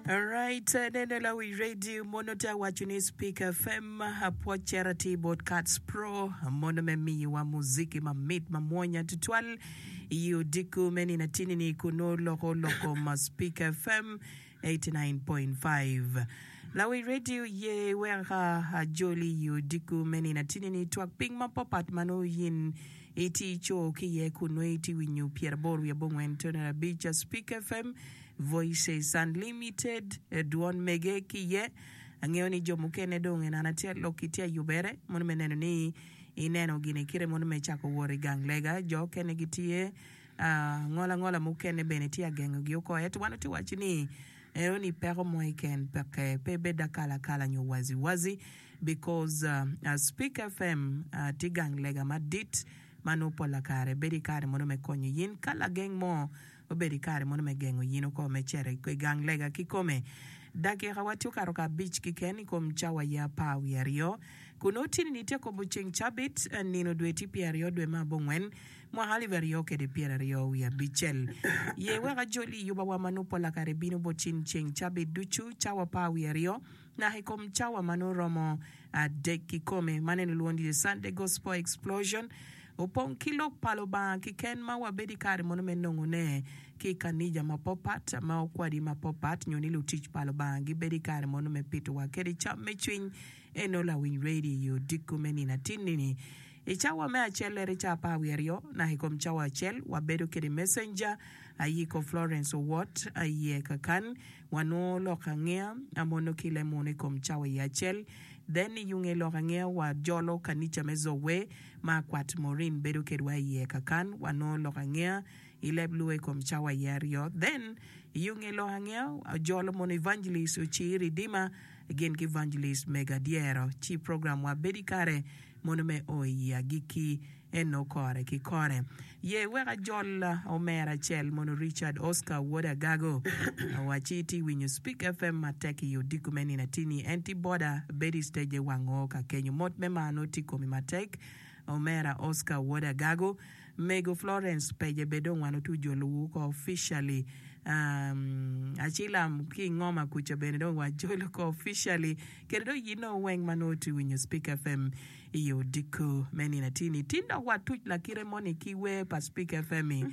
Alright, nene lawi radio mono te awaco ni Speak FM apwoc cito atir bot Cats Pro mono me miyowa muziki mamit mamwonya tutwal i odiko me nino atini ni kun nongo loko lok kom Speak FM 89.5. Lawi radio ye wek ajoli i odiko me nino atini ni twak piny mapapat ma nongo yin iti ico ki iye kun nongo iti winyo 88.5 Speak FM Voices Unlimited, dwon mege ki iye. Angeyo ni jo mukene dong en an atye alok ki tye ayubere mono me neno ni ineno gin ikite mono me cako wot i gang lega. Jo okene gitye ngola ngola mukene bene tye agengo gi oko ento wan watye waco ni eno ni peko mo keken peke pe bed akala akala nyo wazi wazi because Speak FM tye gang lega madit ma nongo pola kare bedo i kare mono me konyo yin ka lageng mo Obedo i kare mono me gengo yin oko me cito i gang lega kikome. Dakika wa tye okato ka abic kiken i kom cawa ye apar wiye aryo. Kun nongo tini-ni tye kobo ceng cabit, nino dwe tye pyeraryo dwe me abongwen, mwaka alip aryo kede pyeraryo wiye abicel. Ye wek ajoli i yuba wa ma nongo pola kare bino bot cin ceng cabit ducu cawa apar wiye aryo naka i kom cawa ma nongo romo adek kikome. Man en olwongo ni The Sunday Gospel Explosion. Opong ki lok pa Lubanga kiken ma wabedo i kare mono me nongone ki i kanija mapopat ma okwadi mapopat nyo ni lutic pa Lubanga gibedo i kare mono me pitowa kede cam me cwiny. Eno lawiny radio i odiko me nino atinni-ni. I cawa me acel ere ca apar wiye aryo naka i kom cawa acel wabedo kede messenger Ayiko Florence Owot iye kakan wanongo lok angeya mono ki le muno i kom cawa iye acel then i yunge lok angeya wajolo kanica me Zoe ma Akwat Maureen bedo kedwa iye kakan wanongo lok angeya i leb luo i kom cawa iye aryo then i yo nge lok angeya ojolo mono Evangelist Ocir Redeemer gin ki Evangelist Mego Adyero ci program wa bedo i kare mono me o i agikki eno kore ki kore. Ye wek ajol omera acel mono Richard Oscar wod Agago owaci tye winyo Speak FM matek i odiko me nino atini en tye boda bedo i stage wango ka kenyo mot me mar nongo tye komi matek omera Oscar wod Agago mego Florence peje be dong wan otu jolo wu ko officially um, acilam ki ingoma kuca bene dong wajolo ko officially kede dong yino weng ma nongo tye winyo Speak FM I odiko me nino atir-ni, tin dok watuc lakite moni ki wer pa Speak FM-mi.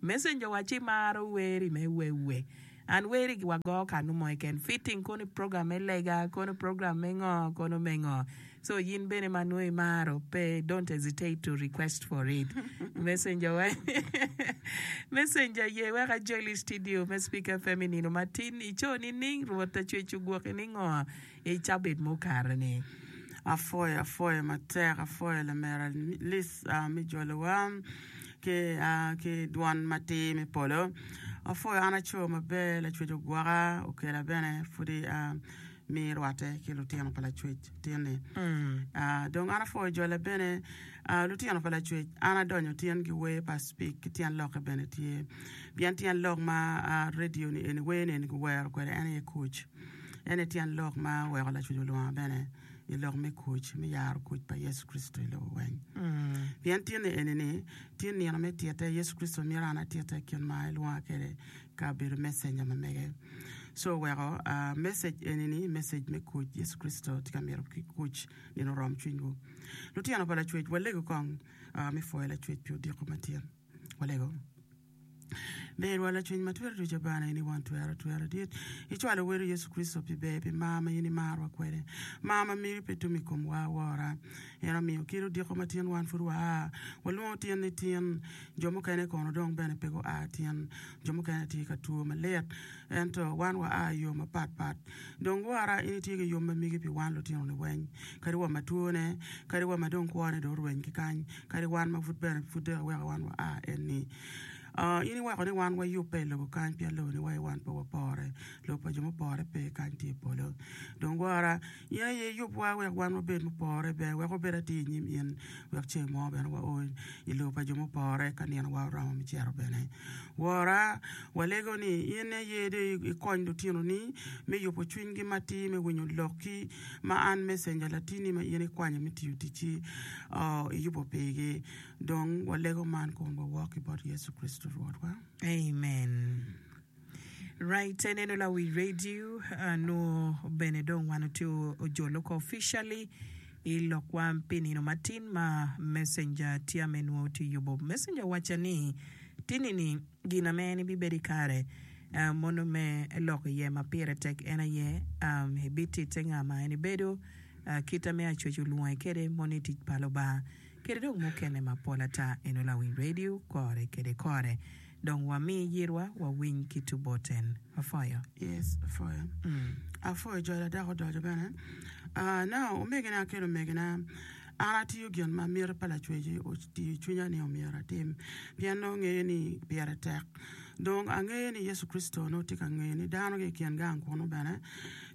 Messenger wacci maro wer-ri me wewe. An wer-ri wago kanu mo keken. Fitting kono i program me lega, kono program me ngo, kono me ngo. So yin bene ma nongo imaro, pe don't hesitate to request for it. Messenger wa Messenger ye wek ajoli i studio me Speak FM i nino matin. Ico nining? Rwot acwec ogwoki ningo? I cabit mukato-ni. Apwoyo apwoyo matek apwoyo lamera Liz me jolowa ki ki dwon matir me polo apwoyo an aco maber lacwec ogwoka okela bene pudi mi rwate ki lutino pa lacwec tin-ni dong an apwoyo jola bene lutino pa lacwec an adonyo tin ki wer pa speak ki tyen lokke bene tye pien tyen lok ma radio ni eni wer ni eni guwero kwede en aye kuc. En aye tyen lok ma oweko Lacwec olwonga bene i lok me kuc, me yaro kuc pa Yecu Kricito i lobo weng. Pien tin-ni eni-ni tye nino me titte, Yecu Kricito myero an atitte kit ma elwonga kwede ka abedo mecenja ma mege. Co oweko message eni-ni message me kuc, Yecu Kricito tye ka mito ki kuc nino orom cwinywu. Lutino pa Lacwec, walegu kong me pwoyo Lacwec pi odiko matin. Walego. Ber wa lacwiny ma twero ducu Abana in i won twero twero dit. Icwalo weri Yecu Kricito pi ber pi mar ma in imarwa kwede. Mar ma miri pe tum i komwa wora. En omiyo kit odiko ma tin wan pud waa. Walwongo tin ni tin. Jo mukene kono dong bene pe gua tin. Jo mukene tye ka two malit. Ento wan wa a i yo mapat pat. Dong wora in itye ki yub ma migi pi wan lutino ni weng. Kadi wa ma twone, kadi wa ma dong kwone dong orweny ki kany, kadi wan ma pud bene pud dong iweko wan wa a en-ni. In iweko ni wan wayubbe i lobo kany pien lobo ni wa wan pe wapore. Lobo pa jo mupore pe kany tye i polo. Dong wora, in aye iyubwa wek wan wabed mupore ber, wek wabed atir i nyim in, wek ceng mo bene wao i lobo pa jo mupore ka ninowa oromo me cito bene. Wora, walego ni in aye dong ikony lutinoni me yubo cwinygi matir me winyo lokki ma an mecenja latinni ma in ikwanyo me tiyo ticci iyubo pigi. Dong walego man kun wawok ki bot Yecu Kricito Rwotwa. Amen. Right, ineno lawi radio nwo bene dong wan otye ojolo ko officially i lokwa pi nino matin ma messenger tye ame nwo tye yubo. Messenger wacca ni tini ni gin ame en ibibedo i kare mono me lok iye ma pire tek en aye ibititte nga ma en ibedo, kit ame acwec olwonge kede mono i tic pa Lubanga kede dong mukene mapol ata eno lawiny radio kore kede kore. Dong wami yirwa wawiny ki tu bot en. Apwoyo. Yes, apwoyo. Apwoyo jolo dok odoco bene. Ah, now, omegina ki lumegina, an atiyo gin ma miti pa Lacwec otiyo i cwinya ni omyero atim, pien nongo ngeyo ni pire tek. Dong angeyo ni Yecu Kricito nongo tye ka ngeyo ni dano ki i kin gang kunu bene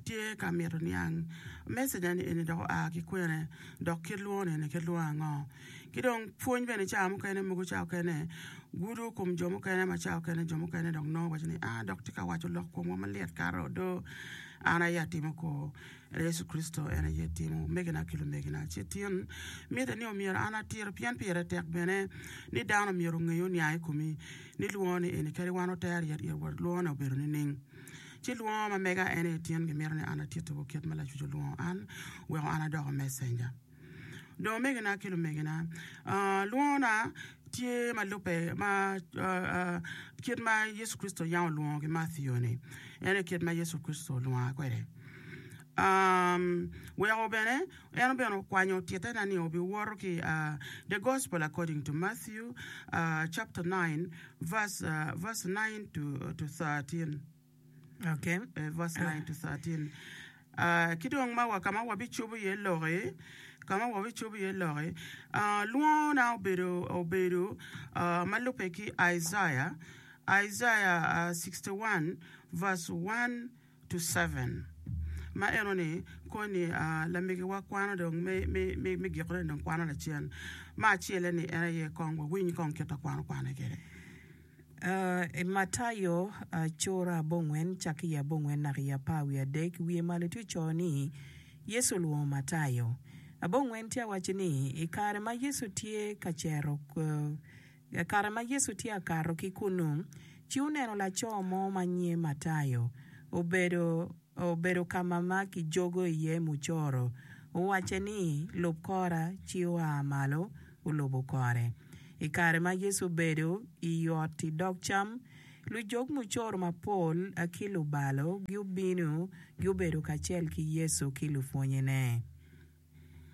tye ka mito niang message-ni eni dok oa ki kwene, dok kit lwongo-ni eni kit lwongo ango. Ki dong pwony bene cawa mukene mogo cawa okene gudo kom jo mukene ma cawa okene jo mukene dong nongo waco ni aa dok tye ka waco lok komwa malit kato odo an aye atimo ko Yecu Kricito en aye timo omegina ki lumegina ci tin mitte ni omyero an atir pien pire tek bene ni dano myero onge oniang i komi ni lwongo ni eni kadi wan oter yet it wa lwongo ne obedo nining ci lwongo ma mega en aye tin gimito ni an atittiwu kit ma Lacwec olwongo an weko an adoko messenger. Dong omegina ki lumegina, lwongona tye ma lubbe ma kit ma Yecu Kricito yam olwongo ki Matthew-ni, en aye kit ma Yecu Kricito olwonga kwede. Weko bene en bene okwanyo tittena ni obiwoto ki The Gospel According to Matthew chapter 9 verse 9 to 13. Okay. Verse 9 to 13. Ki dong ma wa ka ma wabicobo iye loki, ka ma wabicobo iye loki, lwongona obedo obedo ma lubbe ki Isaiah, Isaiah 61 verse 1 to 7. Ma eno-ni koni lamegiwa kwano dong me me me gikone dong kwano lacen. Ma acelle-ni en aye kong wawiny kong kit ma kwano kwane kwede. I Matayo cura abongwen cakke i abongwen naka i apar wiye adek, wiye malo tye ocoyo ni, Yecu olwongo Matayo. Abongwen tye awaco ni, I kare ma Yecu tye ka cito, i kare ma Yecu tye akato ki kunnu, ci oneno laco mo ma nyinge Matayo obedo obedo ka ma kijogo iye mucoro. Owacce ni, Lub kora, ci oa malo olubo kore. I kare ma Yecu obedo i ot i dog cam, lujog mucoro mapol ki lubalo giobino gubedo kacel ki Yecu ki lupwonnyene.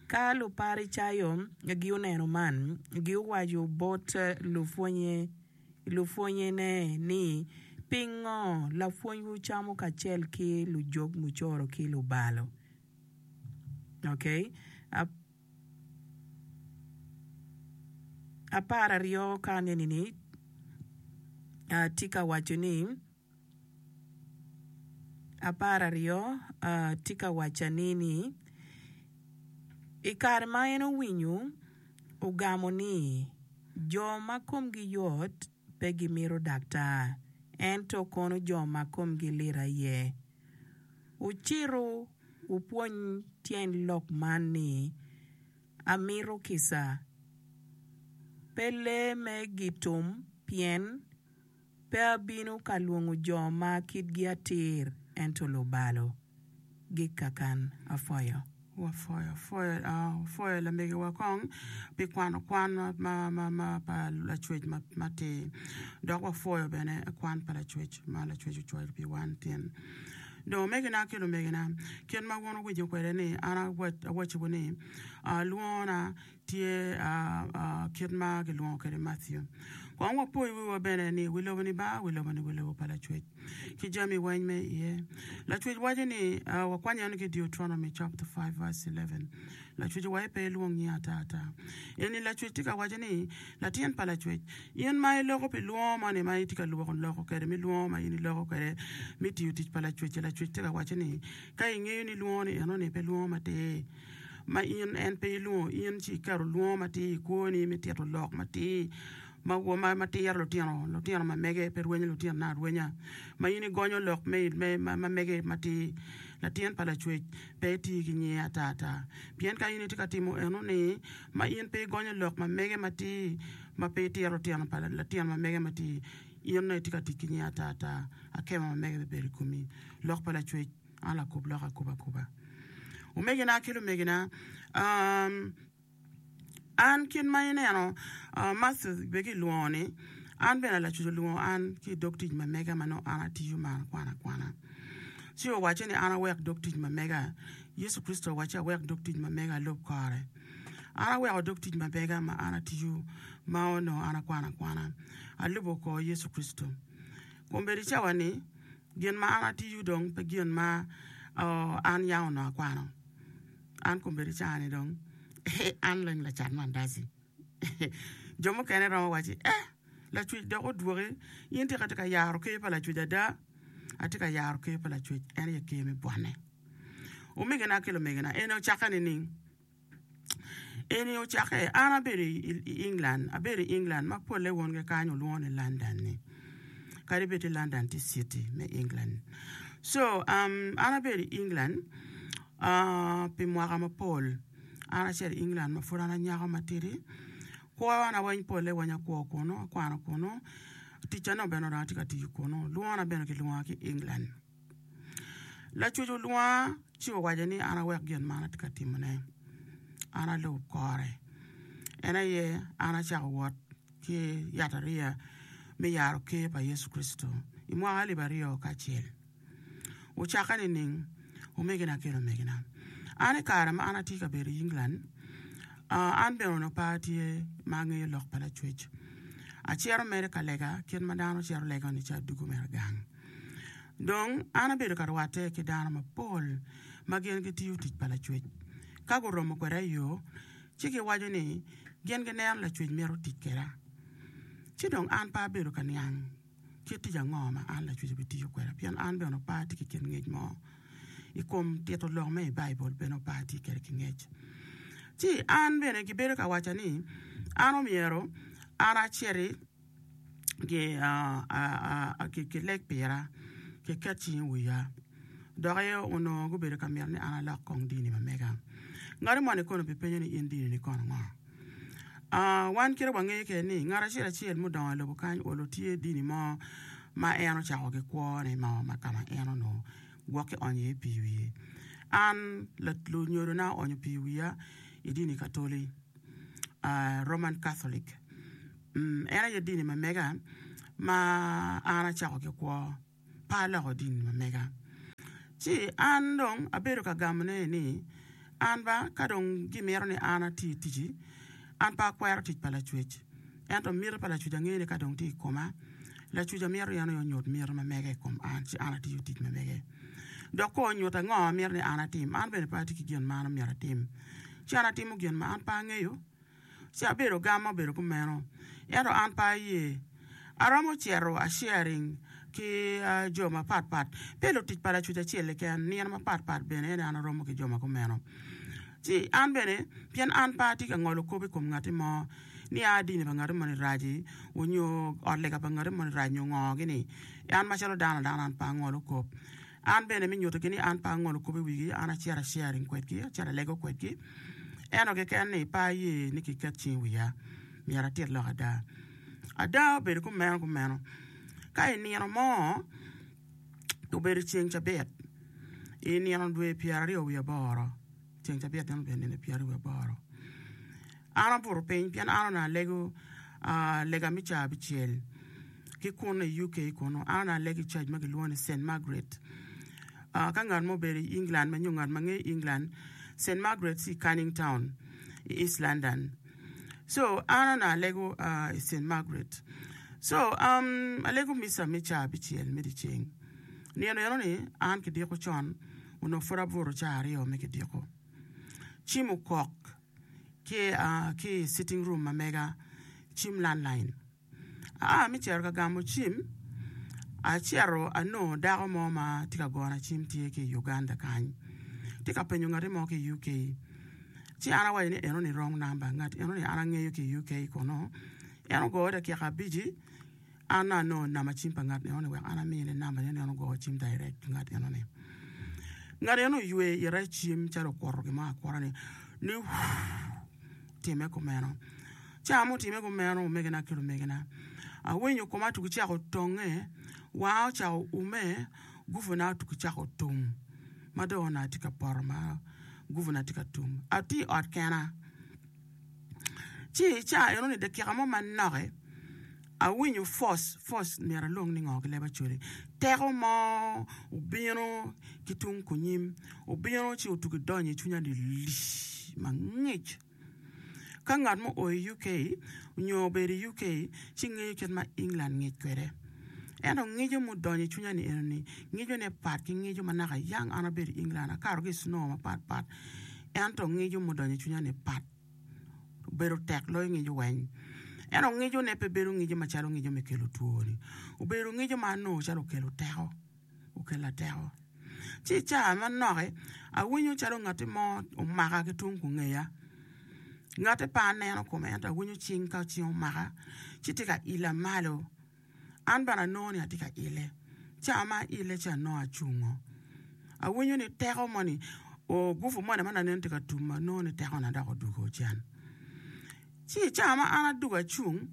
Ka Luparicayo guneno man, guwaco bot lupwonnyene ni, Pingo lapwonywu camo kacel ki lujog mucoro ki lubalo? Okay. Apararyo ka aneni-ni tye ka waco ni, apararyo tye ka wacca ni ni, i kare ma en owinyo, ogamo ni, Jo ma komgi yot pe gimito daktar, ento kono jo ma komgi lit aye. Wucitu wupwony tyen lok man ni, 'Amito kica, pe lee me gitum, pien pe abino ka lwongo jo ma kitgi atir, ento lubalo. Gikakan apwoyo. Wapwoyo, apwoyo, wapwoyo lamegiwa kong pi kwano kwan ma pa Lacwec matir, dok wapwoyo bene kwan pa Lacwec ma Lacwec ocwalo pi wan tin. Dong omegina ki lumegina, kit ma wun wuwinyo kwede ni an awacciwu ni, lwongona tye kit ma gilwongo kwede Matthew. Kong wapoyo wiwa bene ni wi lobo-ni ba, wi lobo-ni wi lobo pa Lacwec ki jami weng me iye. Lacwec waco ni, wakwanyo en ki i Deuteronomy chapter 5 verse 11, Lacwec owaco pe ilwong nyinga ata ata. Eni Lacwec tye ka waco ni, latin pa Lacwec, in ma iloko pi lwongo moni ma itye ka lwoko loko kwede me lwongo ma in iloko kwede me tiyo tic pa Lacwec-ci, Lacwec tye ka waco ni, ka ingeyo ni lwongo ni enoni pe lwongo matir, ma in en pe ilwongo in ci iketo lwongo matir i kwoni me tito lok matir ma ma tiro lutino lutino ma mege pe rwenyo lutinone arwenya ma in igonyo lok me ma mege matir latin pa lacwec pe iti ki nyinge ata ata pien ka in itye ka timo eno ni ma in pe igonyo lok ma mege matir ma pe itiro lutino pa latin ma mege matir. In onongo itye ka tic ki nying ata ata, akemo ma mege bibedo i komi. Lok pa Lacwec, an lakub lok akuba akuba. Omegina ki lumegina, an kit ma ineno Martha bene kilwongo ni, an bene Lacwec olwongo an ki i dog tic ma mega ma nongo an atiyo ma an akwano akwana. Ci owacce ni an awek dog tic ma mega. Yecu Kricito owacce awek dog tic ma mega alub kore. An aweko dog tic ma mega ma an atiyo ma onongo an akwano akwana, alubo kor Yecu Kricito. Kombeddi cawa-ni, gin ma an atiyo dong pe gin ma an yam onongo akwano. An kombeddi cawa-ni dong an leng lacat mandaci. Jo mukene romo wacci, Eh, Lacwec dok odwoki, in tika itye ka yaro ker pa Lacwec ada? Atye ka yaro ker pa Lacwec, en aye ker me bwonne. Omegina ki lumegina, eni ocakke nining? Eni ocakke, an abedo i England, abedo i England ma polle wongi kany olwongo ni London-ni, kadi bed ti London tye city me England. So, um, an abedo i England uh, pi mwaka mapol. An acito i England ma pud an anyako matidi. Kwona weng polle weng akwo kunu, akwano kunu, ticca nongo bene onongo atye ka tiyo kunu, lwongona bene kilwonga ki England. Lacuc olwonga ci owaco ni an awek gin man atye ka timone, an alub kore. En aye an acako wot ki yatariya me yaro ker pa Yecu Kricito i mwaka alip aryo kacel. Ocakke nining, omegina ki lumegina? An i kare ma an atye ka bedo i England, an bene onongo pe atye ma angeyo lok pa Lacwec. Acito mere ka lega kit ma dano cito lego-ni ci adwogo mere gang. Dong an abedo ka rwatte ki dano mapol ma gin gitiyo tic pa Lacwec. Ka guromo kweda i yo, ci giwaco ni gin gineno Lacwec mito tic kweda. Ci dong an pe abedo ka niang kit tic ango ma an Lacwec abitiyo kweda, pien an bene pe atye ki kit ngec mo i kom tito lok me i Baibul bene pe atye kwede ki ngec. Ci an bene gibedo ka wacca ni an omyero an aciti Kileg pira, kiket cing i wiya, dok onongo gubedo ka mito ni an alok kong dini ma mega. Ngat moni kono bipenyo ni, 'In dinini kono ngo? Wan kite wangeyo kwede ni ngat acel acel mudongo i lobo kany olo tye dini mo ma en ocako ki kwone mo ma ka ma en onongo gwok kionyo iye pii i wiye. An lunyodona oonyo pii i wiya i dini Katoli, Roman Catholic. En aye dini ma mega ma an acako ki kwo, pe aloko dini ma mega. Ci an dong abedo ka gamone ni, An ba, ka dong gimito ni an ati ticci, an pe akwero tic pa Lacwec. Ento miti pa Lacwec angeyo ni ka dong tye i koma, Lacwec amito en aye onyut miti ma mege i kom an, ci an atiyo tic ma mege. Dok ka onyutta ngo ma mito ni an atim, an bene pe atye ki gin ma an omyero atim. Ci an atimo gin ma an pe angeyo. Ci abedo gam ma obedo kumeno, ento an pe aye. Aromo cito a sharing ki jo mapat pat, pe lutic pa Lacwec acel keken, nino mapat pat bene ene an aromo ki jo ma kumeno. Ci an bene, pien an pe atye ka ngolo kop i kom ngatti mo, ni a dini pa ngatti moni raci, onyo ot lega pa ngatti moni rac nyo ngo gini, an macalo dano adana an pe angolo kop. An bene me nyutogi ni an pe angolo kop i wigi, an acito a sharing kwedgi, acito alego kwedgi. Ento keken ni pe aye ni kiket cing i wiya, myero atit lok ada. Ada obedo kumeno kumeno. Ka i nino mo, obedo ceng cabit, i nino dwe pyeraryo wiye aboro, ceng cabit meno obedo nino pyeraryo wiye aboro, An abuto piny pien an onongo alego lega me caa abicel ki kunu i UK kunu. An onongo alego i cac ma kilwongo ni Cent Margaret. Ka ngat mo obedo i England nyo ngat ma ngeyo England, Cent Margaret tye i Canning Town i East London. So an onongo alego i Cent Margaret. So alego micca me caa abicel me dyeceng. Nino eno-ni an kidiko con onongo pud abuto caa aryo me kidiko. Cim okok. ki i sitting room ma mega cim landline. Aa me cito ka gamo cim, acito anongo dako mo ma tye ka gona cim tye ki i Uganda kany tye ka penyo ngati mo ki i UK. Ci an awaco ni enoni wrong number ngat enoni an angeyo ki i UK kono en ogoyo dakika abici An anongo namba cim pa ngat enoni wek an amine nambane ni en ogo cim direct ki ngat enoni. Ngat eno oywe ite i cim calo okuto gin mo akuta ni ni wuuu otime kumeno. Ca ma otime kumeno omegina ki lumegina. Awinyo koma tugi cako tonge, wanga ocako ume, guvuna otugi cako tum ma dong onongo atye ka poto ma guvuna tye ka tum. Atye i ot kena. Ci i caa enoni dakika mo manok-ki, awinyo force, force myero alwong ni ngo ki leb Acholi, teko mo obino ki tung kunyim, obino ci otugi donyo i cwinya ni lii mangic. Ka ngat mo o i UK nyo obedo i UK ci ngeyo kit ma England ngic kwede. Ento ngico mudonyo i cwinya ni eno-ni, ngicone pat ki ngico ma naka yang an abedo i England, akato ki i snow mapat pat, ento ngico mudonyo i cwinya-ni pat, obedo tek loyo ngico weng. Ento ngicone pe bedo ngico macalo ngico me kelo two-ni, obedo ngico ma anongo calo okelo teko. Okella teko. Ci i caa manok-ki, awinyo calo ngatti mo omaka ki tung kungeya. Ngatti pe aneno kome ento awinyo cing ka cing omaka ci tye ka ila malo. An bene anongo ni atye ka ile. Caa ma aile ci anongo acungo. Awinyo ni teko moni, gupu moni ma nongo tye ka tum anongo ni tekona dok odwogo cen. Ci i caa ma an adwogo acung,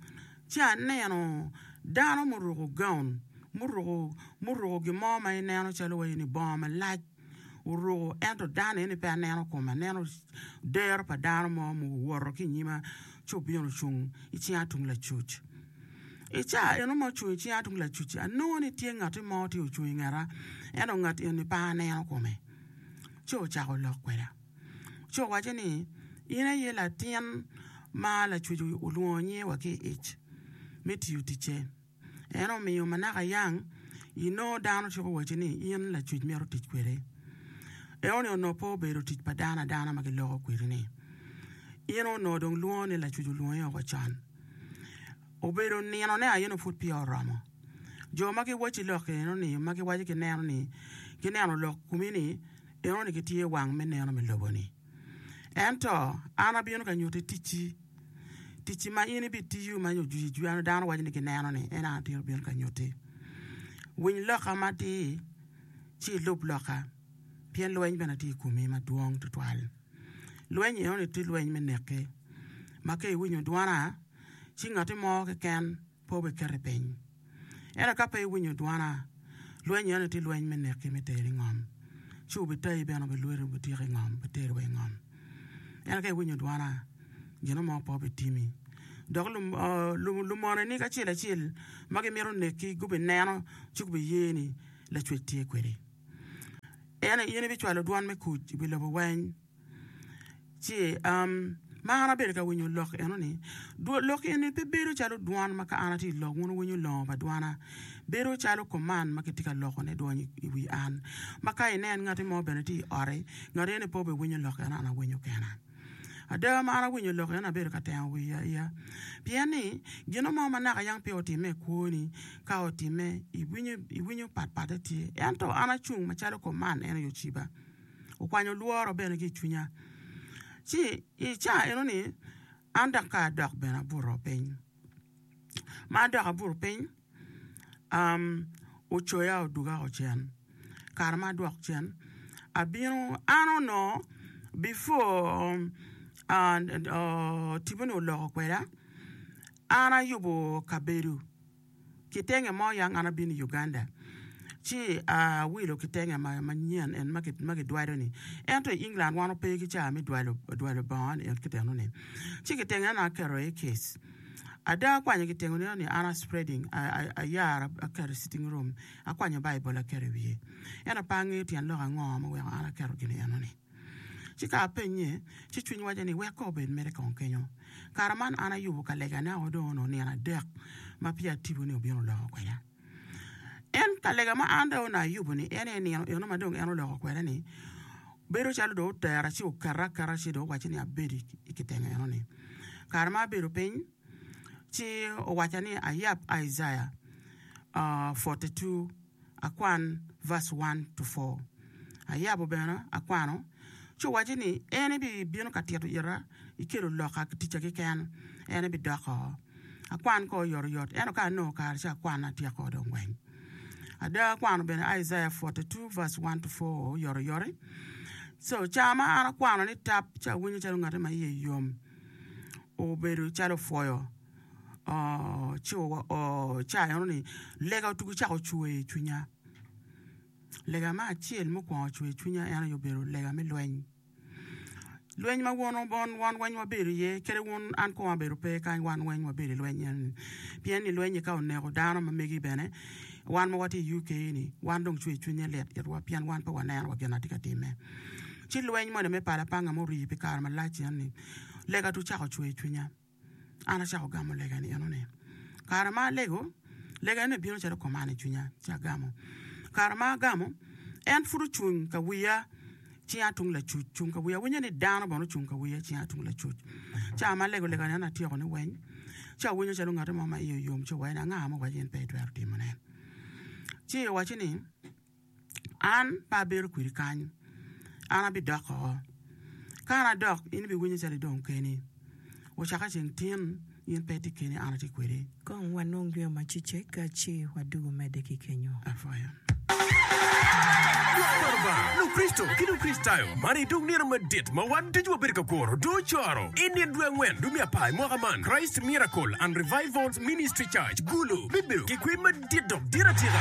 ci aneno dano muruko gaun, muruko muruko gin mo ma ineno calo waci ni bongo malac oruko ento dano eni pe aneno kome aneno dero pa dano mo muwoto ki inyima ci obino ocung i cinga tung lacuc. I caa eno ma ocung i cinga tung lacuc-ci anongo ni tye ngatti mo tye ocung i ngeta ento ngat eni pe aneno kome ci ocako lok kweda. Ci owacce ni, In aye latin ma Lacwec olwongo nyinge wa ki i ic me tiyo ticce. En omiyo ma naka yang inongo dano ciko wacci ni in Lacwec mito tic kwede. Enoni onongo pe obedo tic pa dano adana ma giloko kwedi-ni. In onongo dong lwongo ni Lacwec olwongi woko con. Obedo ninone aye nongo pud peya oromo. Jo ma giwacci lok enoni ma giwaco gineno ni gineno lok komi-ni, Enoni gitye wang me neno me lobo-ni. Ento an abino ka nyutti ticci, ticci ma in ibitiyo ma ojwijwijano dano waco ni gineno-ni, en an atye abino ka nyutti. Winy lokka matir, ci ilub lokka, pien lweny bene tye i komi madwong twatwal. Lweny enoni tye lweny me nekki, ma ka iwinyo dwana, ci ngatti mo keken pe obiketo i piny. Ento ka pe iwinyo dwana, lweny eno tye lweny me neki me teri i ngom, ci obitayi bene obilweti obitiki i ngom, obiteri wa i ngom. Ento ka iwinyo dwana, gin mo pe obitimi. Dok lumoneni kacel acel ma gimito neki gubineno ci gubiye ni Lacwec tye kwedi. En aye in ibicwalo dwan me kuc i wi lobo weng. Ci ma an abedo ka winyo lok eno-ni, lok eni pe bedo calo dwan ma ka an atye ka lok wun wuwinyo longo pa dwana, bedo calo koman ma kitye ka lokone dwony i wi an. Ma ka inen ngati mo bene tye i ot-ti, ngat eni pe obiwinyo lok eno an awinyo kena. Ada ma an awinyo lok eno abedo ka tengo wiya iya, pien ni gin mo ma naka yang peya otimme i kwoni, ka otimme iwinyo patpatte tye. Ento an acung macalo koman en aye ociba. Okwanyo lworo bene ki i cwinya. Ci i caa eno-ni, an dok ka adok bene abuto piny. Ma adok abuto piny, ocoya odwoga woko cen. Kare ma adwok cen, abino, an onongo before tipo-ni oloko kweda, an ayubo kabedo. Kitenge mo yang an abino i Uganda ci awilo kitenge manyen en ma kidwalo ni ento i England wan wape ki caa me dwalo bongo ni kiteno ni ci kitenge ni aketo iye case ada akwanyo kitenge ni an a spreading ayaro aketo i sitting room akwanyo Baibul aketo i wiye ento pe angeyo tyen lok ango ma oweko an aketo gin eno ni. Ci ka apenye, ci cwiny waco ni, 'Wek kong obed mere kong kenyo. Kare man an ayubo ka legane o dong onongo nino adek ma peya tipo-ni obino oloko kweda. En ka lega ma an dong onongo ayubo-ni, en aye nino eno ma dong en oloko kweda-ni, bedo calo dong otera ci oketa aketa ci dong owacca ni abed i kitenge eno-ni. Kare ma abedo piny, ci owacca ni ayab Isaiah 42. Akwan verse one to four. Ayabo bene akwano, ci owaco ni en ebibino ka tito ita ikelo lokka ki ticca keken, en ebidoko. Akwan ko oyotoyot, ento ka anongo kare ci akwan atyeko dong weng. Ada akwano bene Isaiah 42 verse 1 to 4 oyotoyot. So ca ma an akwano ni tap ci awinyo calo ngati ma iye yom, obedo calo opwoyo. Ci wa o ca eno ni lega otugo cako cwer i cwinya. Lega me acel mukwongo cwer i cwinya en aye obedo lega me lweny. Lweny ma won wan weng wabedo iye kadi wun an kong abedo pe kany wan weng wabedo i lweny eni pien ni lweny-nyi ka oneko dano ma megi bene wan ma watye i UK ni wan dong cwer cwinywa lit itwa pien wan pe waneno wa gin ma tye ka timme. Ci lweny moni me pala panga ma orii pi kare malac eni lega tung cako cwer cwinya. An acako gamo lega-ni enoni. Kare ma alego, lega eni obino calo koman i cwinya, ci agamo. Kare ma agamo, en pud ocung ka wiya cinga tung lacuc, cung ka wiya. Awinyo ni dano bene ocung ka wiya cinga tung lacuc. Ca ma alego lega-ni en atyeko ni weng, ci awinyo calo ngat mo ma iye oyom ci owaco ni, Anga ma owaci in pe itwero timone? Ci owaco ni, An pe abedo kwedi kany, an abidok oko. Ka an adok, in ibiwinyo calo idong keni. Ocakke ceng tin, in pe itye keni, an atye kwedi. Kong wanong yweyo macecek ci wadugu medde ki kenyo. Apwoyo. Lwak pa Lubanga, Lukricito ki Lukricitayo, man aye dong nino madit ma wan ducu wabedo ka kuro dong ocoro. I nino dwe angwen dwe me apar i mwaka man, Christ Miracle and Revivals Ministry Church, Gulu, bibedo ki kwer madit. Dit dok dit atika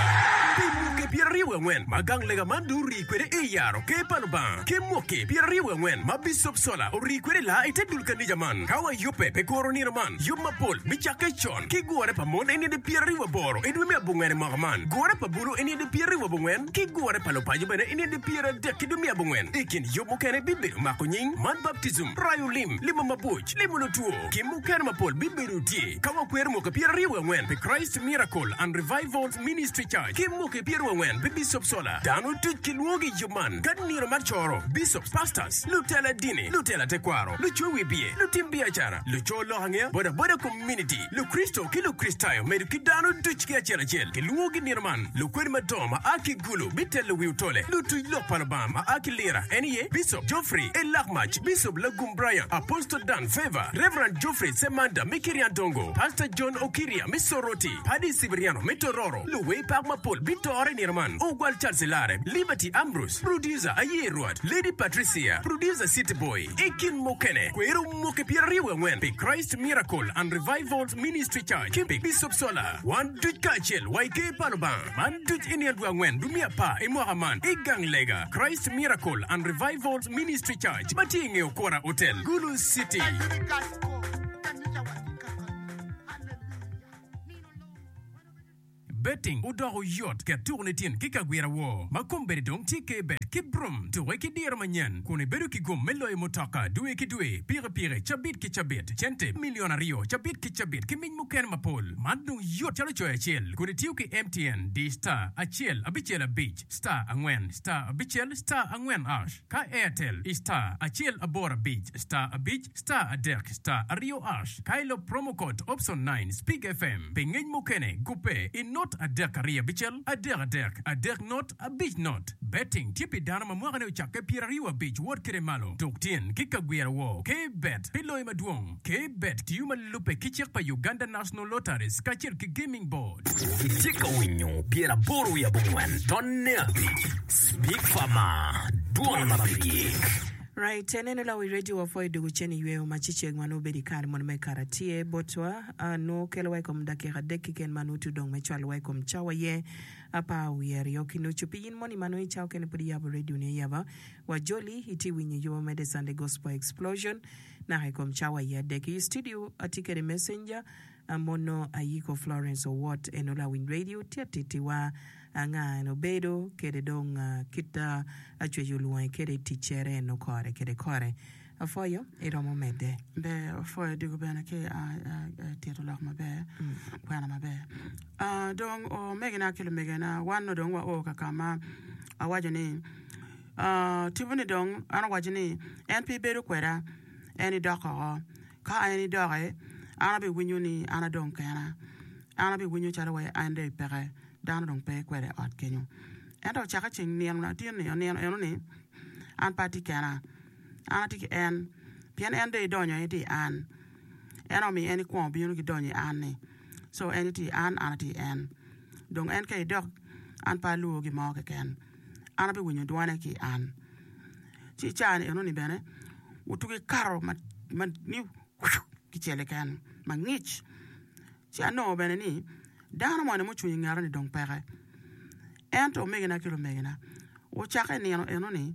pi mwaki 24 ma gang lega man dong orii kwede i yaro Ker pa Lubanga, ki mwaki 24 ma Bicop Sola orii kwede laa i te dul kanija man. Ka wayubbe pi kuro nino man, yub mapol bicakke con ki gure pa mon i nino 28 i dwe me abongwen i mwaka man, gure pa bulu i nino 24, ki gure pa lupaco bene i nino 30 ki dwe me abongwen. I kin yub mukene bibedo mako nying, man baptijim, rayo lim, limo mabuc, limo lutwo, ki mukene mapol bibedo tye. Ka wakwero mwaki 24 pi Christ Miracle and Revivals Ministry Church ki mwaki 24 pi Bishop Sola, dano duc kilwongogi i yub man ka nino mar coro, bishops, pastors, lutela dini, lutela tekwaro, lucwe wibye, lutim biacara, luco lok angeya, boda boda community, Lukricito ki Lukricitayo medo ki dano duc ki acel acel kilwongogi nino man. Lukwed madongo ma a ki Gulu bitelo wi otole, lutuc lok pa Lubanga ma a ki Lira en aye Bicop Geoffrey Elakmac, Bicop Lagum Brian, Apostle Dan Favor, Rev. Geoffrey Semanda me Kiryandongo, Pastor John Okiria me Soroti, Paddy Cibriano me Tororo. Luwer pak mapol bitore i nino man, Ogwal Charles Ilare, Liberty Ambrose, Producer Aye Rwot, Lady Patricia, Producer City Boy, I kin mukene, kwero mwaki 24 pi Christ Miracle and Revivals Ministry Church ki pi Bicop Sola. Wan duc kacel wa i Ker pa Lubanga. Man duc i nino dwe angwen dwe me apar i mwaka man i gang lega Christ Miracle and Revivals Ministry Church ma tye i nge Okora Hotel, Gulu City. Betting odoko yot ket tuko ni tin ki kagwira woo ma kombeddi dong tye K-Bet ki Brum. Tuke ki diro manyen kun ibedo ki gum me loyo mutoka dwe ki dwe, pikipiki cabit ki cabit, cente milion aryo cabit ki cabit ki mic mukene mapol. Man dong yot calo coyo acel kun itiyo ki MTN di star acel abicel abic star angwen star abicel star angwen ash ka Airtel i star acel aboro abic star abic Star adek star aryo ash ka ilo promo code option nine Speak FM pi ngec mukene gubbe i not adek aryo abicel adek adek adek not abic not. Betting tye pi dano ma mwaka ne ocakke 25 wot kede malo. Tuk tyen ki kagwira woo K bet pi loyo madwong. K bet tiyo ma lubbe ki cik pa Uganda National Lotteries kacel ki Gaming Board. Itye ka winyo 89 tonne abic Speak Farmer, Dwon ma pe gik. Right, eneno lawi radio wa pwoyo dugu cen i yweyo ma ci ceng ma nongo bedo i kare mono me kare tye botwa nongo kelo wa i kom dakika adek keken ma nongo tudong me cwalo wa i kom cawa ye apar wiye aryo ki nucu. Pi in moni ma nongo i cawa kene pud iyabo radio ni ayaba wa joli itye winyo yuba me The Sunday Gospel Explosion naka i kom cawa ye adek. I studio atye kede messenger Mono Ayiko Florence Owot eno lawiny radio tye atitiwa anga en obedo kede dong kit acwec olwonge kede i tic cere eno kore kede kore. Apwoyo iromo medde. Ber apwoyo diko bene ki tito lok maber kwena maber dong omegina ki lumegina wan nongo dong wa o ka kama awaco ni tipo ni dong an owaco ni en pe ibedo kweda en idok oko Ka en idoki, an abiwinyo ni an adong kena. An abiwinyo calo wai en dong peke, dano dong pe kwede i ot kenyo. Ento ocakke ceng nino latin-ni onino eno-ni, an pe atye kena, an atye ki en, pien en dong idonyo en tye i an. En omiyo en ikwongo bino ki donyo i an-ni. Co en tye i an, an atye i en. Dong en ka idok, an pe alwor gin mo keken. An abiwinyo dwane ki i an. Ci i caa-ni enoni bene otugi kato ma ni kicel keken mangic. Ci anongo bene ni dano moni mucung i ngeta-ni dong peke. Ento omegina ki lumegina, ocakke i nino eno-ni,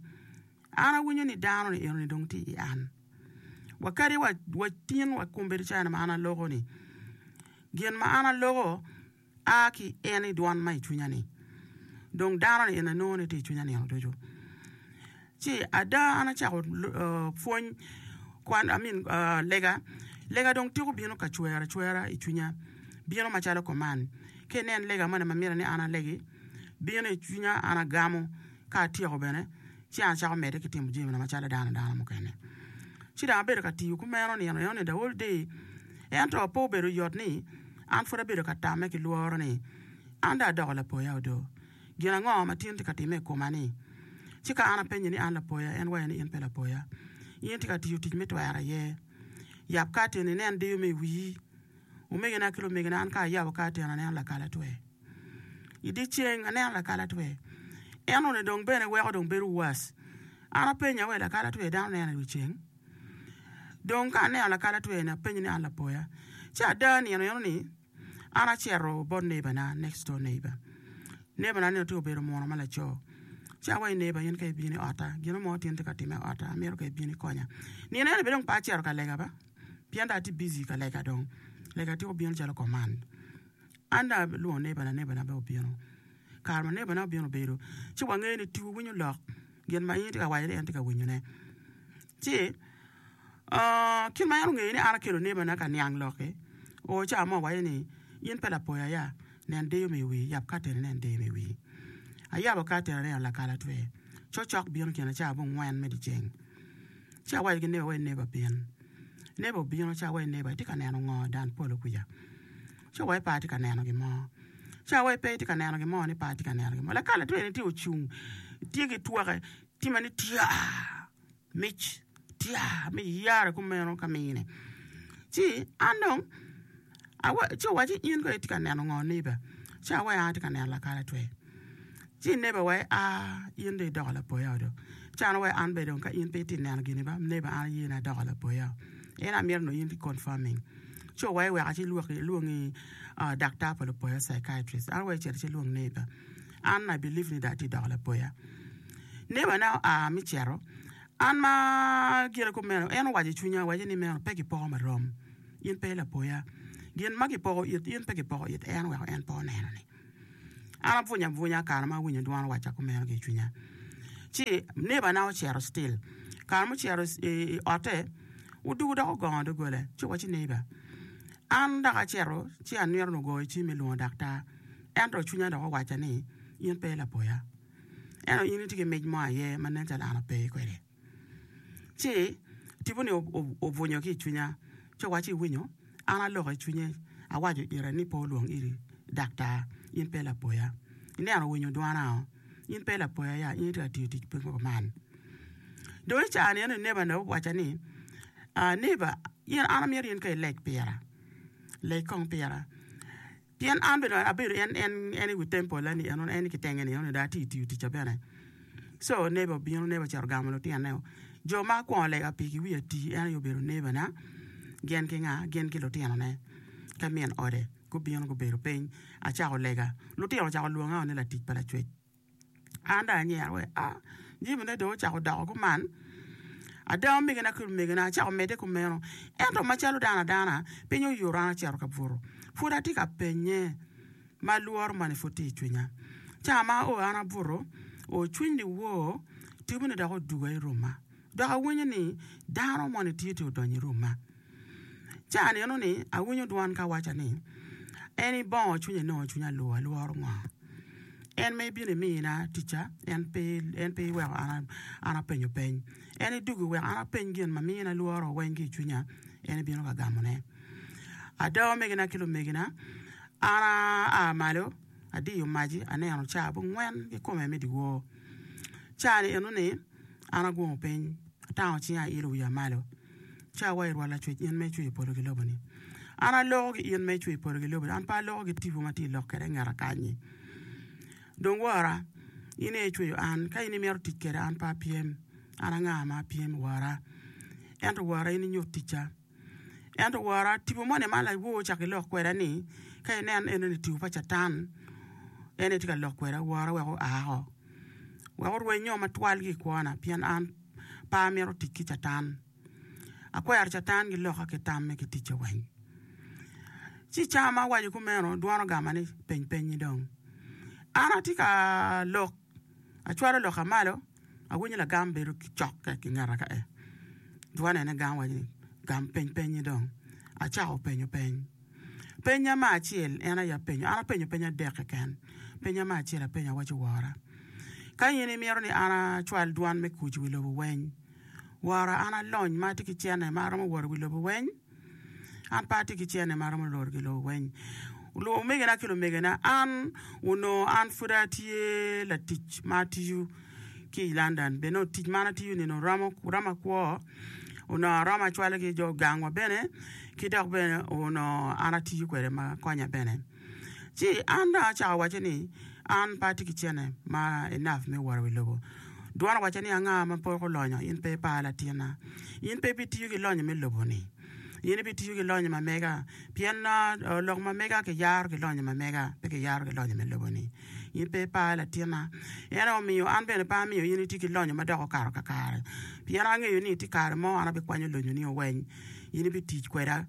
an awinyo ni dano-ni eno-ni dong tye i an. Wa kadi wa tin wa kombeddi calo ma an aloko-ni, gin ma an aloko a ki i en i dwan ma i cwinya-ni. Dong dano-ni eni anongo ni tye i cwinya nino ducu. Ci ada an acako pwony kwan I mean lega, lega dong tiko bino ka cwer acwera i cwinya bino macalo kuman ka inen lega moni ma mitte ni an alegi bino i cwinya an agamo ka atyeko bene ci an acako medde ki timo jamina macalo dano dano mukene ci dong abedo ka tiyo kumeno nino eno ni the whole day ento pe obedo yot ni an pud abedo ka tamme ki lworo ni an dong adoko lapoya odo. Gin ango ma tin tye ka timme i koma-ni? Ci ka an apenye ni an lapoya, en waco ni in pe lapoya. In itye ka tiyo tic me twero aye. Yab katen inen deyo me i wii. Omegina ki lumegina, an ka ayabo katen aneno lakalatwe. I dyeceng aneno lakalatwe. Enoni dong bene weko dong bedo worse. An apenyo awe lakalatwe dano neno i wi ceng? Dong ka aneno lakalatwe-ni apenyo ni an lapoya. Ci ada nino enoni An acito bot nebana, next door neighbor. Nebana ni tye obedo muno ma laco. Ci awaco ni neighbor in ka ibino i otta, gin mo tin tye ka timme i otta, amito ka ibino ikonya. Nino eni bene dong pe acito ka lega ba, pien dong atye busy ka lega dong. Lega tye obino calo command. An dong alwongo nebana, nebana bene obino. Kare ma nebana obino obedo, ci wangeyo ni tipo winyo lok, gin ma in itye ka waco ni en tye ka winyone. Ci Kit ma en ongeyo ni an akelo nebana ka niang lok-ki, oo ca mo owaco ni, In pe lapoya ya, nen deyo me i wii, yab katen inen deyo me i wii. Ayabo katen aneno lakalatwe, cocok bino kine ca abongwen me dyeceng. Ci awaco ki neba wai neba bin. Neba obino ci awaco neba itye ka neno ngo dan polo kwica? Ci owaco pe atye ka neno gin mo. Ci awaco pe itye ka neno gin mo ni pe atye ka neno gin mo. Lakalatwe ni tye ocung tye ki twake tye ma ni tyaa. Mic tya me yare kumeno ka mine. Ci an dong ci owacci in kono itye ka neno ngo neighbor? Ci awaci an atye ka neno lakalatwe. Ci neighbor owaci aa in dong idoko lapoya do. Ci an awaci an bene dong ka in pe itye neno gini ba neighbor an aye ni adoko lapoya. En amito nongo in confirming. Ci owaci wek aci lwongi daktar pa lupoya psychiatrist. An awaci cit ci lwong neighbor. An I believe ni dong atye doko lapoya. Neighbor na oa me cito, an ma gire kumeno, en owaco i cwinya, owaco ni meno pe gipoko marom, in pe lapoya. Gin ma gipoko it in pe gipoko it en oweko en pe oneno ni. An abwunyo abwunya kare ma awinyo dwan owacca kumeno ki i cwinya. Ci neighbor na ocito still, kare mucito i otte, odugo dok ogongo doggola, ci owaco neighbor, an dok acito ci anwito ni ogoyo cim me lwongo daktar. Ento cwinya dok owacca ni, In pe lapoya. Ento in itye ki mic mo aye ma nen calo an ape kwede. Ci tipo-ni obwunyo ki i cwinya, ci owacci, Iwinyo? An aloko i cwinye, awaco ire ni pe olwong iri daktar, in pe lapoya. Ineno owinyo dwana-o? In pe lapoya ya, in itye ka tiyo tic pe kuman. Dong i caa-ni eno neighbor-ni owacca ni, Neighbor, in an amyero in ka ileg pira, leg kong pira. Pien an bene abedo en en en i wi temple ni eno en ki tenge ni eno dong atye tiyo ticca bene. So neighbor obino neighbor ocito ogamo lutinone o. Jo ma akwongo lega pigi wiya tii en aye obedo neighbor na gin ki nga gin ki lutinone ki min ode gubino gubedo piny acako lega lutino ocako lwonga o ni latic pa lacwec. An dong anyero wek a jamine dong ocako doko kuman. Ada omegina ki lumegina acako medde kumeno. Ento macalo dano adana, piny oyuto an acito ka buto. Pud atye ka penye ma lworo moni pud tye i cwinya. Ca ma ao an abuto, o cwiny liwor tibone dok oduga i rumma. Dok awinyo ni dano moni tye tye odonyo i rumma. Ci aneno ni awinyo dwan ka wacca ni, En ibongo cwinya inongo cwinya alwor, alworo ngo? En ma ibino imina ticca, en pe, en pe iweko an, an apenyo peny. En idwogo iweko an apeny gin ma mina lworo weng ki i cwinya, en ibino ka gamone. Ada omegina ki lumegina, an aa malo, adiyo maci, aneno caa abongwen kikome me dyewor. Caa-ni eno-ni, an agungo piny, atango cinga ailo wiya malo. Ca wa i Rwot Lacwec, in ma icweyo polo ki lobo-ni. An aloko ki in ma icweyo polo ki lobo-ni, an pe aloko ki tipo ma tye i lok kwede i ngeta kany-nyi. Dong wora, in aye icweyo an, ka in imito tic kweda, an pe apyem. An anga ma apyem, Wora? Ento Wora, in inyut ticca. Ento wora, tipo moni ma lawor ocako ki lok kweda ni, ka inen enoni tipo pa Catan, en aye tye ka lok kweda, wora wek oa oko, wek orwenyo matwal ki i kwona, pien an pe amito tic ki Catan. Akwero Catan ki lokka ki tamme ki ticce weng. Ci i cawa ma awaco kumeno, dwon ogama ni, Peny pennyi dong. An atye ka lok, acwalo lokka malo, awinyo lagam bedo cokke ki ngeta ka e. Dwon ene gam waco ni, Gam peny pennyi dong. Acako penyo peny. Pennya me acel en aye apenyo, an apenyo peny adek keken. Pennya me acel apenyo awaco wora, ka in imito ni an acwal dwan me kuc i wi lobo weng, Wora, an alony ma atye ki cente ma aromo wot i wi lobo weng? An pe atye ki cente ma aromo lworo i wi lobo weng. Omegina ki lumegina, an onongo an pud atye latic ma atiyo ki i London. Bene onongo tic ma an atiyo-ni onongo romo roma kwo, onongo aromo acwalo ki jo gangwa bene, ki dok bene onongo an atiyo kwede ma konya bene. Ci an dong acako wacce ni, An pe atye ki cente ma enough me wot i wi lobo. Dwon owacca ni, Anga ma poko lonyo? In pe ipar latinna. In pe ibitiyo ki lonyo me lobo-ni. In ibitiyo ki lonyo ma mega, pien lok ma mega kiyaro ki lonyo ma mega, pe kiyaro ki lonyo me lobo-ni. In pe ipar latinna. En aye omiyo an bene pe amiyo in iti ki lonyo ma dok okato kakare, pien angeyo ni tye kare mo an abikwanyo lonyoni oweny, in ibitic kweda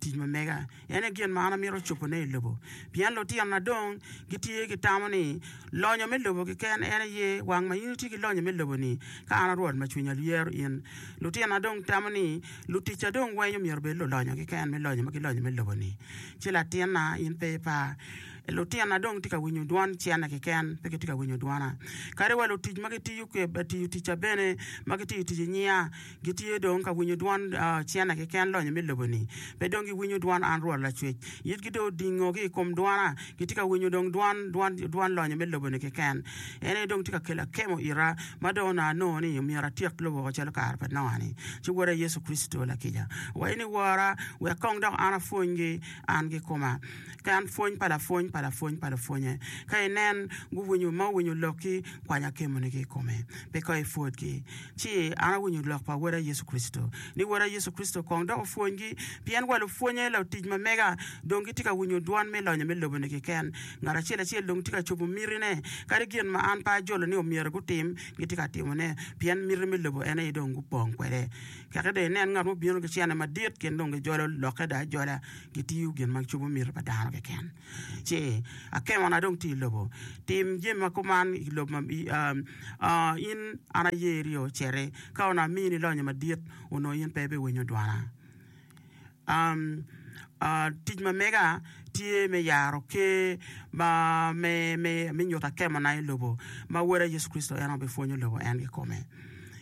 tic ma mega. En aye gin ma an amito cobone i lobo. Pien lutinona dong gitye ki tamo ni lonyo me lobo keken en aye wang ma in itye ki lonyo me lobo-ni, ka an a Rwot ma cwinya lyero in. Lutinona dong tamo ni luticca dong weng omyero obed lulonyo keken me lonyo ma gilonyo me lobo-ni. Ci latinna, in pe ipar. Lutinona dong tye ka winyo dwon cente keken, pe gitye ka winyo dwona. Kadi wa lutic ma gitiyo ticca bene, ma gitiyo tic i nyinga, Gitye dong ka winyo dwon cente keken lonyo me lobo-ni. Pe dong giwinyo dwon an Rwot Lacwec. Itgi dong odingo ki i kom dwona, gitye ka winyo dong dwon dwon lonyo me lobo-ni keken. En aye dong tye ka kelo akemo ira, ma dong onongo anongo ni myero atyek lobo woko calo kare pa Noa-ni. Ci Woda Yecu Kricito lakica owaco ni, Wora, wek kong dok an apwonygi an kikoma. Ka en pwony pa lapwony pa lapwony pa lupwonye, ka inen guwinyo ma owinyo lokki, kwany akemoni ki i kome, pe kong ipwodgi. Ci an awinyo lok pa Woda Yecu Kricito, ni Woda Yecu Kricito kong dok opwonygi, pien wa lupwonye lutic ma mega dong gitye ka winyo dwan me lonyo me lobo-ni keken. Ngat acel acel dong tye ka cobo mitine, kadi gin ma an pe ajolo ni omyero gutim, gitye ka timone, pien miti me lobo en aye dong gupong kwede. Keke dong inen ngat mubino ki cene madit, gin dong gijolo lokke dong ajola, gitiyo gin ma cobo miti pa dano keken. Ci akemona dong tye i lobo. Tim jami ma kuman i lobo ma in an ayeri ociti. Ka onongo amini lonyo madit, onongo in pe ibiwinyo dwana. Tic ma mega tye me yaro ker ma me nyuto akemona i lobo ma Woda Yecu Kricito en aye obipwonyo lobo en kikome.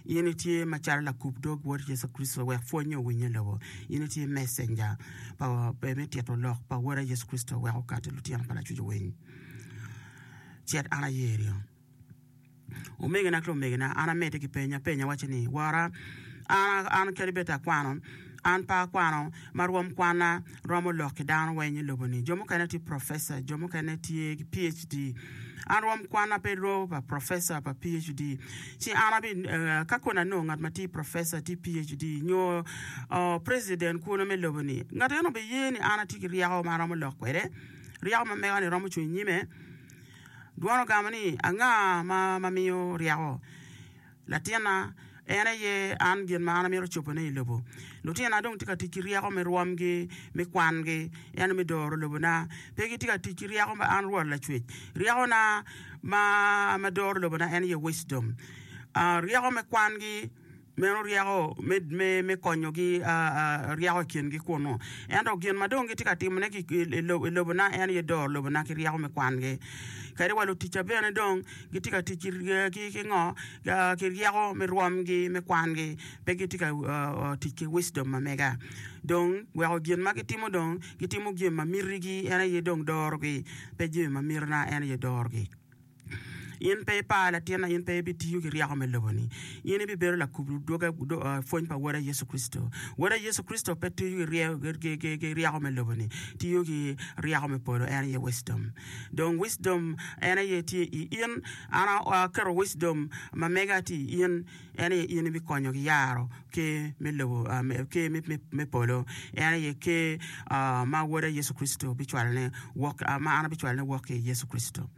In itye macalo lakub dog Wod Yecu Kricito wek pwonye owinye i lobo. In itye messenger pa me tito lok pa Woda Yecu Kricito wek okati lutino pa Lacwec owiny. Cet an ayerio. Omegina ki lumegina, an amedde ki peny, apenyo awaco ni, Wora, an, an kadi bed akwano, an pe akwano ma rwom kwanna romo lok ki dano weng i lobo-ni. Jo mukene tye professor, jo mukene tye ki PhD. An rwom kwanna pe romo pa professor pa PhD. Ci an abi, ka kono anongo ngat ma tye professor, tye PhD, nyo president kunu me lobo-ni, ngat eno obiye ni an atye ki ryeko ma aromo lok kwede, ryeko ma mega-ni romo cung i nyime. Dwon ogamo ni, Anga ma miyo ryeko? Latinna, en aye an gin ma an amito cobone i lobo. Lutinona dong tye ka tic ki ryeko me rwomgi, me kwangi, ento me doro lobona. Pe gitye ka tic ki ryeko ma an Rwot Lacwec. Ryekona ma doro lobona en aye wisdom. Ryeko me kwangi. Meno ryeko me konyogi ryeko i kingi kunnu. Ento gin ma dong gitye ka timone i lobona en aye doro lobona ki ryeko me kwangi. Kadi wa luticca bene dong gitye ka tic ki ngo? Ki ryeko me rwomgi me kwangi, pe gitye ka tic ki wisdom ma mega. Dong weko gin ma gitimo dong gitimo gin ma mitigi en aye dong dorogi, pe jami ma mitina en aye dorogi. In pe ipar latinna, in pe ibitiyo ki ryeko me lobo-ni. In ibibedo lakub pwony pa Woda Yecu Kricito. Woda Yecu Kricito pe tiyo ki ryeko me lobo-ni, tiyo ki ryeko me polo, en aye wisdom. Dong wisdom en aye tye i in. An aketo wisdom ma mega tye i in, en aye in ibikonyo ki yaro ker me lobo, ker me polo. En aye ker ma Woda Yecu Kricito bicwalone wok, ma an abicwalone wok ki i Yecu Kricito.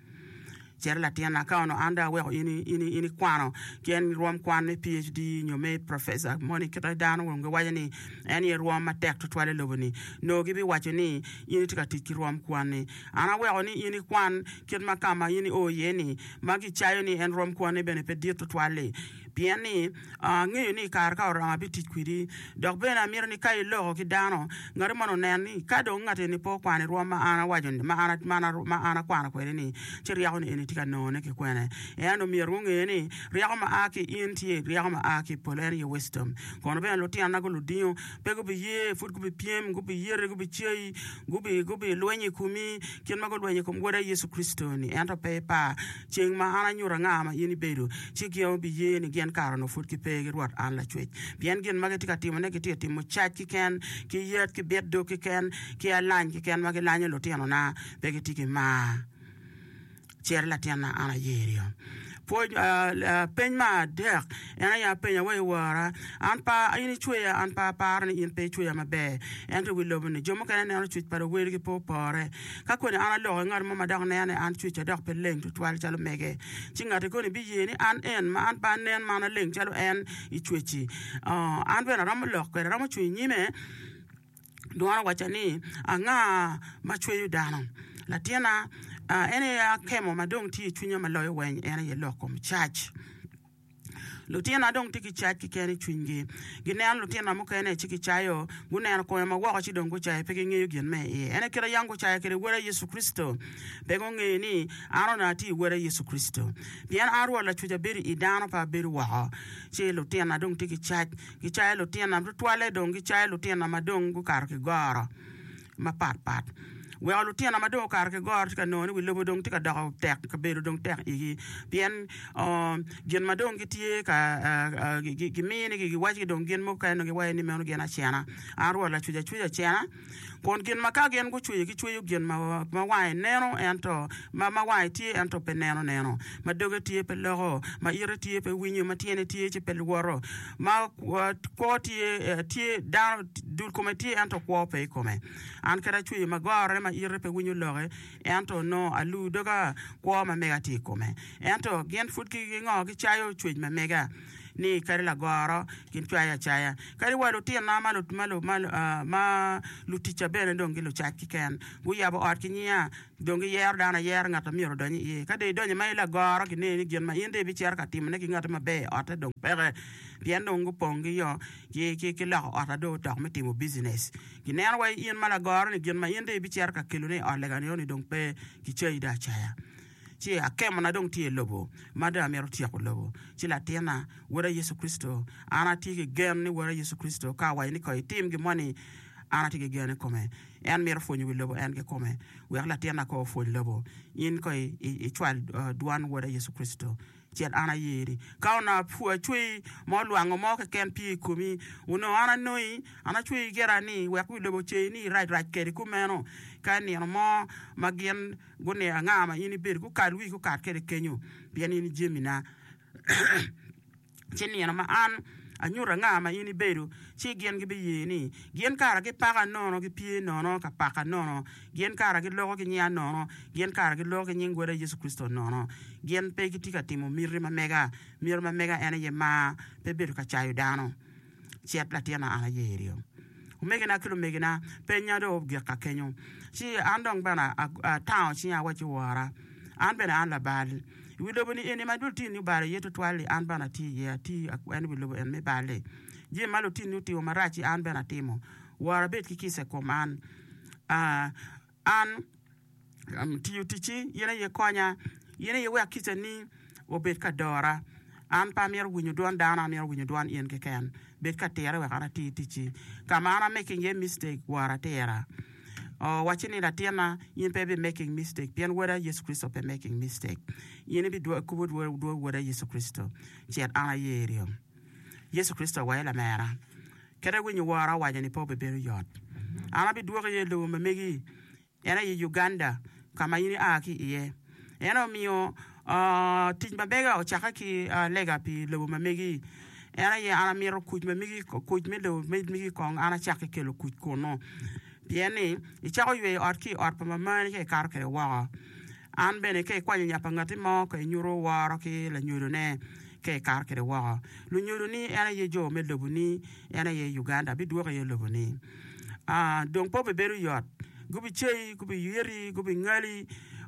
Cit latinna, ka onongo an dong aweko in in ikwano ki en rwom kwan me PHD nyo me professor moni kite dano dong giwaco ni en aye rwom matek tutwal i lobo-ni, nongo gibiwaco ni in itye ka tic ki rwom kwanni. An aweko ni in ikwan kit ma ka ma in io iye-ni ma gicayo ni en rwom kwanni bene pe dit tutwal-li. Pien ni, angeyo ni i kare ka oromo abitic kwedi, dok bene amito ni ka iloko ki dano, ngati moni onen ni ka dong ngat eni pe okwano i rwom ma an awaco ni, ma an, ma an, ma an akwano kwede-ni, ci ryeko ni eni tye ka nongone ki kwene. Ento myero gunge ni ryeko ma a ki i in tye ryeko ma a ki i polo, en aye wisdom. Kono bene lutinona guludingo, pe gubiye, pud gubipyem, gubiyeti, gubicayi, gubi, gubilwenyo i komi, kit ma gulwenyo i kom Woda Yecu Kricito-ni. Ento pe ipar. Ceng ma an anyuto anga ma in ibedo, ci gin obiye ni gin kare onongo pud gipe ki Rwot an Lacwec. Pien gin ma gitye ka timone gitye ka timo cac keken, ki yet, ki bit dog keken, ki alany keken ma gilanyo lutinona, pe gitye ki mar. Cit latinna, an ayeri. Pwony, peny me adek en aye apenya wa i wora, An pe in icweya, an pe aparo ni in pe icweya maber. Ento i wi lobo-ni, jo mukene neno cwec pa luwelgi pe opore. Ka koni an aloko ki ngat mo ma dok neno ni an cwecca dok pe leng tutwal calo mege, ci ngatti koni biye ni an en ma an pe anen ma an aleng calo en i cwecci. An bene aromo lok kwede, aromo cung i nyime. Dwon owacca ni, Anga ma cweyo dano? Latinna, en aye akemo ma dong tye i cwinya ma loyo weny, en aye lok kom cac. Lutinona dong tye ki cac keken i cwinygi. Gineno lutinona mukene ci gicayo, guneno kome ma woko ci dong gucayo, pe gingeyo gin me iye. En aye kit ma yam gucayo kwede Woda Yecu Kricito. Pe gungeyo ni an onongo atye i Woda Yecu Kricito. Pien an Rwot Lacwec abedo i dano, pe abedo woko. Ci lutinona dong tye ki cac, gicayo lutinona, tutwalle dong gicayo lutinona ma dong gukato ki goro. mapat pat. Weko lutino ma dong okato ki goro tye ka nongo ni wi lobo dong tye ka doko tek, kabedo dong tek igi pien gin ma dong gitye ka giminigi giwacigi dong gin mukene dong giwaco ni meno gin acena. An Rwot lacwec acweco acena kun gin ma ka gin gucweyo gicweyo gin ma wange neno ento ma wange tye ento pe neno neno, ma doge tye pe loko, ma ite tye pe winyo, ma tyene tye ci pe lwoto. Ma kwo tye, tye, dano, dul kome tye ento kwo pe i kome. An kadi acweyo ma gorre ma ite pe winyo loke, ento onongo alu doga kwo ma mega tye i kome. Ento gin pud ki ngo gicayo cwec ma mega ni kadi lagoro gin cwayo acaya. Kadi wa lutinna ma, ma, ma, ma luticca bene dong gilucac keken. Guyabo ot ki nyinga. Dong giyero dano ayera ngat ma myero odony iye. Ka dong idonyo ma i lagoro, gineni ni gin ma in dong ibicito ka timone ki ngati maber i otte dong peke, pien dong gupong ki yo ki loko ot dong otok me timo bijinec. Gineno wa in ma lagoro-ni gin ma in dong ibicito ka kelone i ot lega-ni dong pe, kicayi dong acaya. Ci akemona dong tye i lobo, ma dong amito tyeko lobo. Ci latinna, Woda Yecu Kricito, an atye ki gen ni Woda Yecu Kricito ka awaco ni kong itim gin moni, an atye ki gen i kome. En mito pwonyo wi lobo en kikome. Wek latinna kong opwony lobo. In kong icwal dwan Woda Yecu Kricito. Cit an ayeri. Ka onongo acweyi ma olwango mo keken pye i komi, onongo an anongi, an acweyi gira ni wek wi lobo oceyi ni irac rac kedi kumeno. Ka i nino mo ma gin guniang anga ma in ibedo, gukal wii gukat kede kenyo, pien in i jamina. Ci nino ma an anyuto anga ma in ibedo, ci gin gibiye ni, 'Gin kara gipaka nono, gipye nono ka paka nono, gin kara giloko ki nyinga nono, gin kara giloko ki nying Woda Yecu Kricito nono. Gin pe gitye ka timo miti ma mega. Miti ma mega en aye mar, pe bedo ka cayo dano. Cit latinna, an ayeri. Omegina ki lumegina, penya dong ogik ka kenyo. Ci an dong bene atango cinga awacci, Wora, an bene an labal. I wi lobo-ni eni ma lutinni obalo iye twatwal-li, an bene atye iye, ati en i wi lobo en me bal-li. Jami ma lutinni otimo marac-ci an bene atimo. Wora bed ki kica i kom an. An tiyo ticci, in aye konya, in aye wek kicani obed ka dora. An pe amito winyo dwon dano, amito winyo dwon in keken. Bed ka tira wek an ati ticci. Ka ma an a making iye mistake, wora tira. Owacce ni, Latinna, in pe ibi making mistake, pien Woda Yecu Kricito pe making mistake. In ibi kubo dwor Woda Yecu Kricito. Cit, an ayerio. Yecu Kricito owaco lamera, Kadi awinyo wora owaco ni pe obibedo yot. An abidwoki iye i lobo ma megi, en aye Uganda, ka ma in ia ki iye. En omiyo tic ma mega ocakke ki lega pi lobo ma megi. En aye an amito kuc ma megi, kuc me lobo ma megi kong an acak ki kelo kuc kunnu. Pien ni icako yweyo ot ki i ot pa mamani ka ikato kwede woko. An bene ka ikwanyo nya pa ngatti mo ka inyuto woro ki lanyodone ka ikato kwede woko. Lunyodoni en aye jo me loboni, en aye Uganda bidwoko iye loboni. Dong pe obibedo yot. Gubiceyi, gubiyeti, gubingali,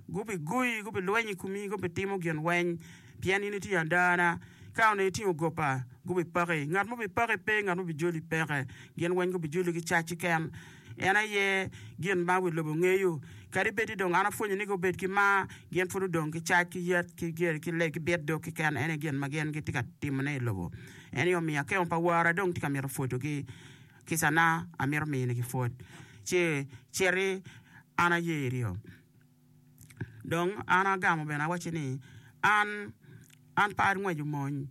gubigoyi, gubilwenyo i komi, gubitimo gin weng pien in itye adana. Ka onongo itingo gopa, gubipaki. Ngat ma obipaki pe, ngat ma obijoli peke. Gin weng gubijoli ki cac keken. En aye gin ma wi lobo ngeyo. Kadi bed ni dong an apwonyo ni gubed ki mar, gin pud odong ki cac, ki yet, ki geri, ki leb, ki bit dog keken. En aye gin ma gin gitye ka timone i lobo. En aye omiyo akemo pa wora dong tye ka mito pwodogi. Kicana amito minigi pwod. Ci citi, an ayeri-o. Dong an agamo bene awacce ni, An, an pe angweco mony.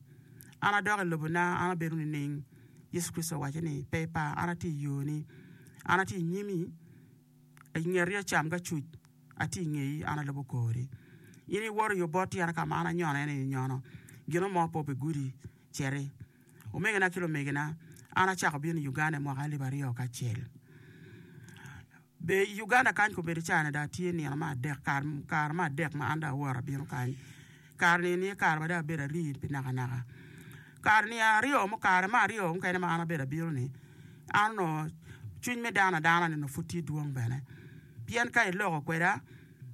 An adok i lobona, an abedo nining? Yecu Kricito owacce ni, Pe ipar, an atye i yoni. An atye i nyimi, i ngeti acam ki acuc, atye i ngeyi, an alubo kori. In iwoto i obot tyena ka ma an anyono en aye inyono, gin mo pe obigudi, citi. Omegina ki lumegina, an acako bino i Uganda i mwaka alip 2001. Be i Uganda kany kobedo caa-ni dong atye nino me adek, kare me adek ma an dong awoto abino kany. Kare-ni eni aye kare ma dong abedo arii pi nakanaka. Kare-ni aryo kare me aryo mukene ma an abedo abino-ni, an onongo cwiny me dano adana-ni onongo pud tye dwong bene. Pien ka iloko kweda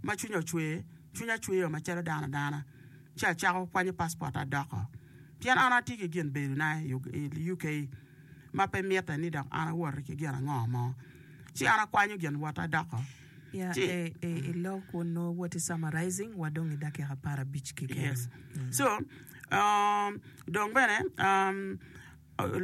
ma cwinya ocwer, cwinya cwer macalo dano adana ci acako kwanyo passport-ta adoko. Pien an atye ki gin bedona i UK. ma pe mitte ni dok an awoti ki gin ango mo, ci an akwanyo gin wotta adoko. Ya, Ci, e, e, i lok onongo woti summarizing wa dong i dakika aparabic keken. yes. So, um, dong bene um,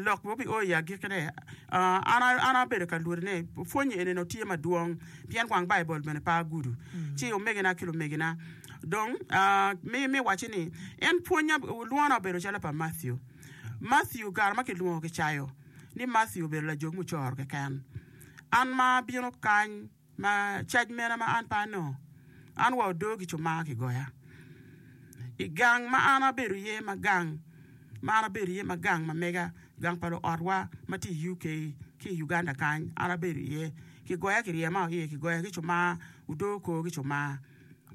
lok ma obio i agikkine, uh, an, an abedo ka lwodi ni pwonye eni onongo tye madwong pien wang Baibul bene pe agudo. Ci omegina ki lumegina dong uh, mi, mi wacci ni en pwonya lwona obedo calo pa Matthew. Matthew kare ma kilwongo kicayo ni Matthew obedo lajog mucoro keken. An ma abino kany ma cac mene ma an pe anongo? An wa odoo ki cumar kigoya. I gang ma an abedo iye ma gang ma an abedo iye ma gang ma mega, gang pa luotwa ma tye i UK ki i Uganda kany an abedo iye kigoya kiryema iye kigoya ki cumar odoo kor ki cumar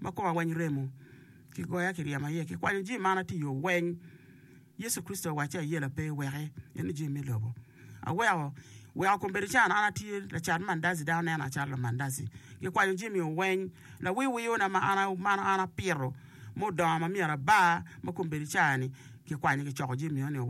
ma koma weng remo kigoya kiryema iye kikwanyo jami ma an atiyo weng. Yecu Kricito owacci ayela pe iweki, en jami me lobo. Aweko, weko kombeddi can an atye lacat mandazi, dano nena acalo lamandazi. Gikwanyo jami weng, lawiwiyona ma an ma an apito mudongo ma myero abar ma kombeddi ca-ni kikwanyo kicoko jami eno-ni weng.